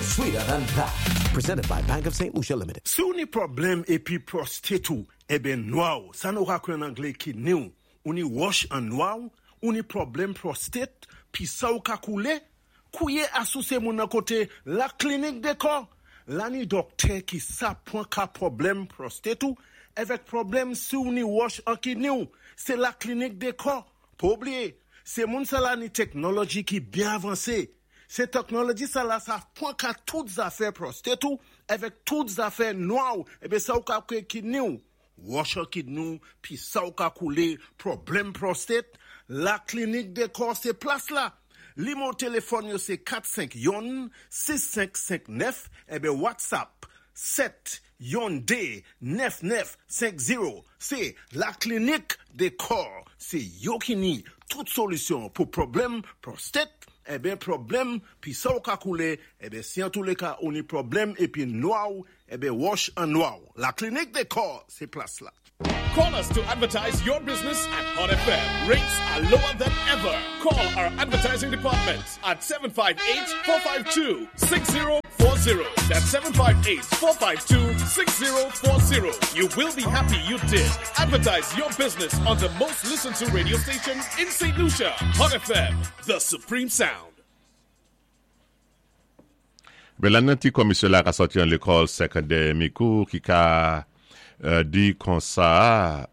sweeter than that. Presented by Bank of St. Lucia Limited. Si ou ni pwoblèm épi prostate ou, eben nwa ou, sa nou ka kwé an anglé kidney ou, ou ni wòch an nwa ou, ou ni pwoblèm prostate, pi sa ou ka koulé, kouye asou sé moun nan koté La Clinique des Corps. La ni dòktè ki sa pwan ka pwoblèm prostate ou, èvèk pwoblèm si ou ni wòch an kidney ou, sé La Clinique des Corps. Pa oubliyé, sé moun sa la ni teknoloji ki byen avansé. Sé teknoloji sa la sa pwan ka tout zafè prostate ou, èvèk tout zafè nwa ou, eben sa ou ka kwé kidney ou. Wòch an kidney ou, pi sa ou ka koulé, pwoblèm prostate, La Clinique des Corps sé plas la. Nimewo téléfòn yo sé 451 6559 eben WhatsApp 7 12 9950. Sé La Clinique des Corps. Sé yo ki ni tout solisyon pou pwoblèm prostate, eben pwoblèm pi sa ou ka koulé, eben si an tou lé ka ou ni pwoblèm épi nwa ou, eben wòch an nwa ou. La Clinique des Corps, sé plas la. Call us to advertise your business at Hot FM. Rates are lower than ever. Call our advertising department at 758-452-6040. That's 758-452-6040. You will be happy you did. Advertise your business on the most listened to radio station in St. Lucia. Hot FM, the supreme sound. Ben la nan ti komisyon la ka sòti an lekòl sekondè Mikou ki ka di konsa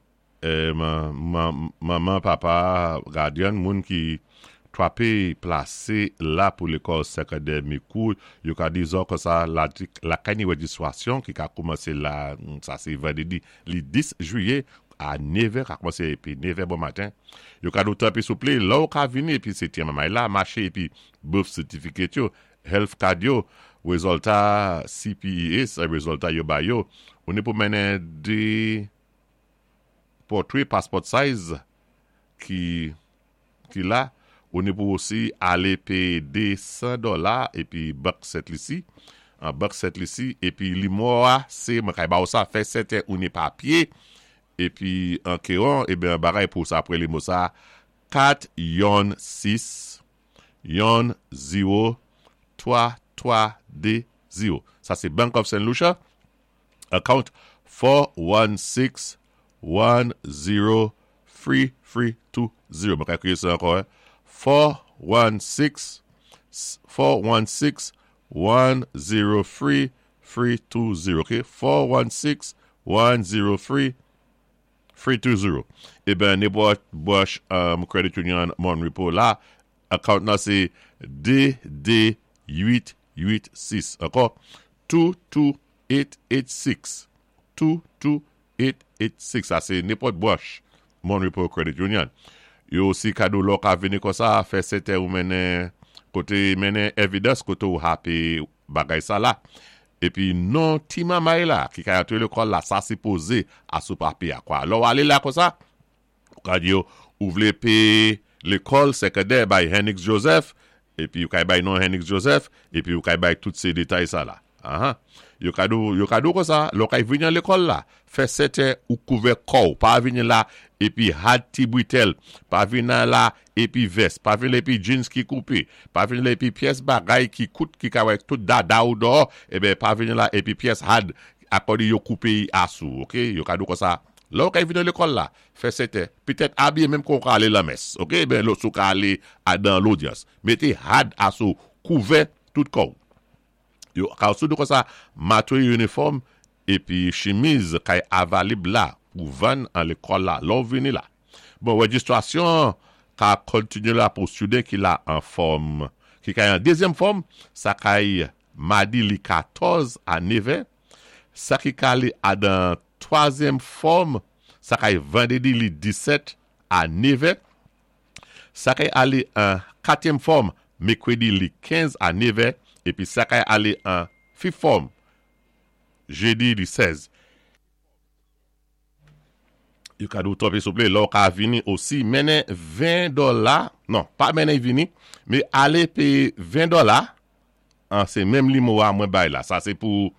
manman papa gadyen moun ki twape plase la pou lekòl sekondè Mikou yo ka di zò konsa lakay ni rejistwasyon ki ka koumanse la sa se vandredi li 10 jiyè a 9 è ka koumanse epi 9 è bon maten yo ka di w tanpri souple lè w ka vini epi se ti manmay la mache epi birth certificate yo Health card yo, rezòlta CPEA se rezòlta yo bay yo, ou ni pou mennen 2 pòtwe passport size ki ki la, ou ni pou osi ale peye 200 dòla epi bank Sent Lisi, an bank Sent Lisi epi limò a se mwen kay ba ou sa fè sèten ou ni papye epi an keron eben an bagay pou sa apre limo sa 4 yon 6 yon 0 3 3 2 0. Sa se Bank of St. Lucia, account 4 1 6 1 0 3 3 2 0. Mwen ka kriye sa ankò, 4 1 6 4 1 6 1 0 3 3 2 0. Ok, 4 1 6 1 0 3 3 2 0. Eben, nenpòt branch Credit Union Mon Repos la, account nan se 2 2 8 8 6. Ankò, 2 2 8 8 6. 2 2 8 8 6. Sa se nenpòt branch Mon Repos Credit Union. Yo osi kado lò ka vini konsa, fè sèten ou mennen kote mennen evidence kote ou hape bagay sa la. Epi non ti mamay la ki kay antre lekòl la sa sipoze a sou papye a kwa. Lè w ale la konsa, ou ka di yo ou vle peye lekòl sekondè bay Hennix Joseph, epi ou kay bay non Hennix Joseph, epi ou kay bay tout se detay sa la. Ahan. Yo ka di w, yo ka di w konsa, lè w kay vini an lekòl la, fè sèten ou kouvè kò w, pa vini la epi had ti britèl, pa vini la epi vès, pa vin la epi jeans ki koupe, pa vin la epi pyès bagay ki kout ki ka wè tout dada ou dòò, eben pa vin la epi pyès had akòde yo koupe y asou ok, yo ka di w konsa, lè w kay vin nan lekòl la, fè sèten, petèt abiye menm kon w ka ale lan mès ok, eben lè w ka ale a dan lodyans, mete had asou, kouvè tout kò w. Yo ka sou di konsa, matwe inifòm epi chimiz kay avalib la pou vann an lekòl la lè w vini la. Bon, rejistrasyon an ka kontinye la pou student ki la an fòm, ki kay an dezyèm fòm, sa kay madi li 14 a nevè, sa ki ka li a dan twazyèm fòm, sa kay vandredi li 17 a nevè, Sa kay ale an katyèm fòm mekredi li 15 a nevè epi sa kay ale an fif fòm jedi li 16. Yo ka di w tanpri souple lè w ka vini osi mennen 20 dòla non pa mennen vini men ale peye 20 dòla an se menm limo a mwen bay la sa se pou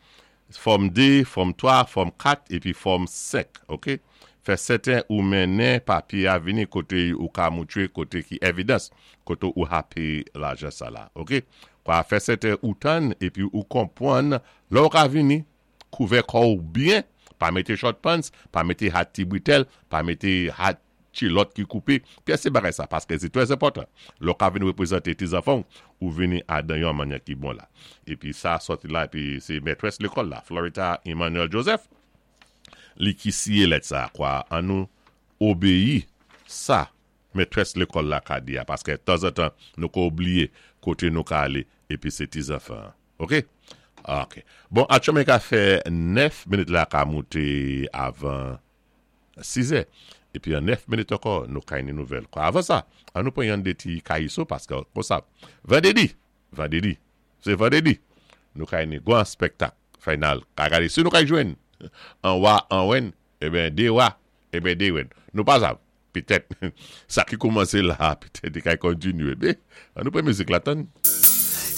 fòm 2 fòm 3 fòm 4 epi fòm 5 ok fè sèten ou mennen papye a vini kote ou ka moutre kote ki evidans kote ou hape lajan sa la ok. Kwa fè sèten ou tann épi ou konpwann lè ou ka vini, kouvè kò ou byen, pa mété short pants, pa mété hat ti britèl, pa mété hat kilòt ki koupé, pyès ti bagay sa, paské sé trè enpòtan. Lè ou ka vin wépwézanté ti zanfan ou, ou vini adan yon mannyè ki bon la. Épi sa sòti la, épi sé mètrès lékòl la, Florita Emmanuel Joseph, li ki siyé lèt sa, kwa an nou obéyi sa mètrès lekòl la ka di a paskè tanzantan nou ka oubliye kote nou ka ale epi se ti zanfan an ok ok bon atchòmen ka fè 9 minit la ka moute avan 6 è epi an 9 minit ankò nou ka ni nouvèl kwa avan sa an nou pran yon de ti kayiso paskè konsa vandredi vandredi se vandredi nou ka ni gwan spèktak final ka gade si nou ka jwenn an wa an wèn eben de wa eben de wèn nou pa sav. Petèt sa ki koumanse la a petèt li ka kontinye. Men, an nou pran mizik la tann.